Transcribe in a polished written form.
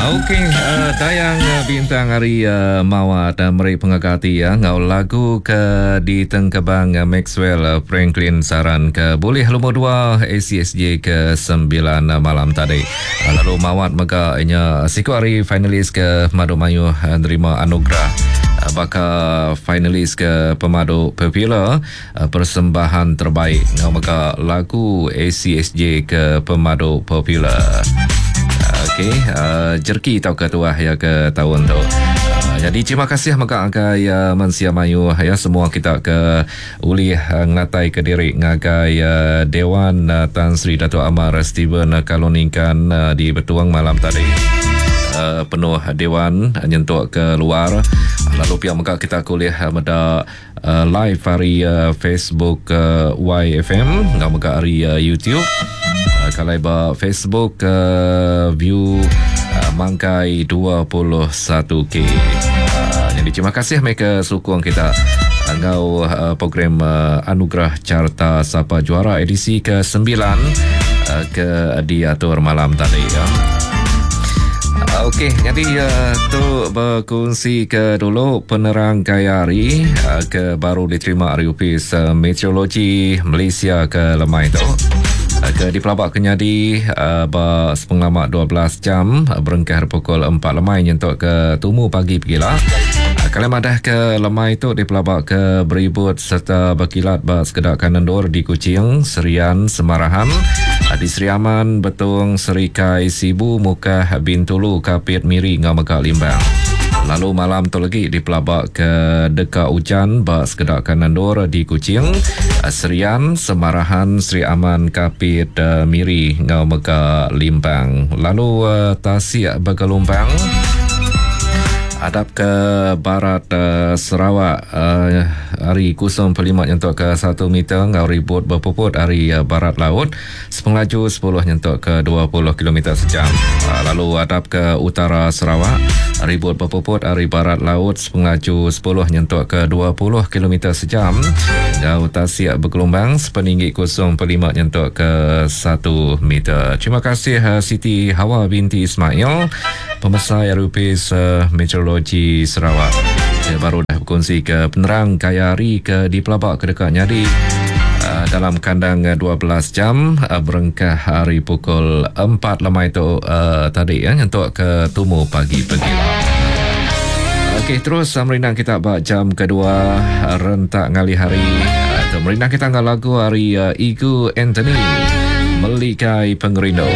Okey, uh, Dayang uh, Bintang hari uh, Mawat uh, meri pengaga ati ya ngau lagu ke ditengkebang uh, Maxwell uh, Franklin Saran ke boleh lumur 2 ACSJ ke 9 uh, malam tadi. Uh, lalu Mawat mega inya siku hari finalis ke Madu Mayuh uh, nerima anugerah uh, baka finalis ke pemadu popular uh, persembahan terbaik ngau mega lagu ACSJ ke pemadu popular. Okey, uh, jerki tau ke tuah ya ke tahun tu. Uh, jadi terima kasih mega agai uh, mensia mayu ya semua kita ke ulih uh, ngatai ke diri ngagai uh, Dewan uh, Tan Sri Datuk Amar Stephen uh, Kaloningkan uh, di Betuang malam tadi. Uh, penuh dewan uh, nyentuk ke luar. Lalu pihak mega kita kuliah uh, meda uh, live hari uh, Facebook uh, YFM ngau mega hari uh, YouTube. Uh, kalau ba Facebook uh, view uh, mangkai 21k. Uh, jadi terima kasih mereka sokong kita ngau uh, program uh, Anugerah Carta Sapa Juara edisi ke-9 uh, ke diatur malam tadi ya. Okey, jadi uh, tu berkongsi ke dulu penerang gaya hari uh, ke baru diterima hari Upis uh, Meteorologi Malaysia ke lemai tu. Uh, ke dipelabak kenyadi uh, ba sepenglama 12 jam uh, berengkah pukul 4 lemai nyentuk ke tumu pagi pegila. Uh, kalau madah ke lemai tu dipelabak ke beribut serta berkilat ba sekedak kanendur di Kuching, Serian, Semarahan, uh, di Sri Aman, Betung, Serikai, Sibu, Mukah, Bintulu, Kapit, Miri ngau mega Limbang. Lalu malam tu lagi dipelabak ke deka hujan ba sekedak kanendur di Kuching, Serian, Semarahan, Sri Aman, Kapit, Miri ngau mega Limbang. Lalu tasik bergelombang adap ke barat uh, Sarawak uh, hari 0.5 nyentuk ke 1 meter ngau ribut berpuput hari uh, barat laut sepengelaju 10 nyentuk ke 20 km sejam. Uh, lalu adap ke utara Sarawak ribut berpuput hari barat laut sepengelaju 10 nyentuk ke 20 km sejam. Ngau tasik bergelombang sepeninggi 0.5 nyentuk ke 1 meter. Terima kasih uh, Siti Hawa binti Ismail, pemesai RUPS uh, Meteorologi Sarawak. Saya baru dah berkongsi ke penerang kaya hari ke di Pelabak ke dekat nyadi uh, dalam kandang 12 jam uh, berengkah hari pukul 4 lemai tu uh, tadi ya nyentuk ke tumu pagi pagi. Okey, terus merindang kita bak jam kedua rentak ngali hari. Uh, merindang kita ngal lagu hari uh, Igu Anthony Melikai Pengerindu.